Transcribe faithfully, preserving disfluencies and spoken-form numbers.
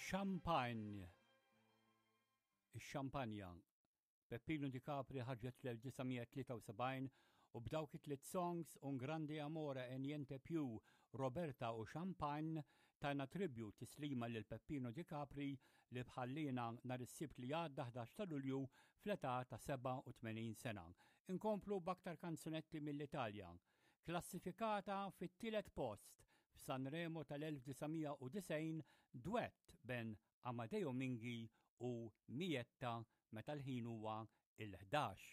Champagne. Ix-xampanja. Peppino Di Capri ħarġet fl-elf disa' mija tlieta u sebgħin u b'dawk it-tliet songs, Un Grande Amore e Niente Più, Roberta u Champagne, tajna tribute, tislima lil Peppino Di Capri li ħalliena nhar is-Sibt li għadda, ħdax ta' Lulju, fl-età ta' sebgħa u tmenin sena. Inkomplu b'aktar kanzunetti mill-Italja. Klassifikata fit-tielet post f'Sanremo tal-elf disa' mija u disgħin, duett bejn Amadeo Minghi u Mietta, meta l-ħin huwa il-ħdax.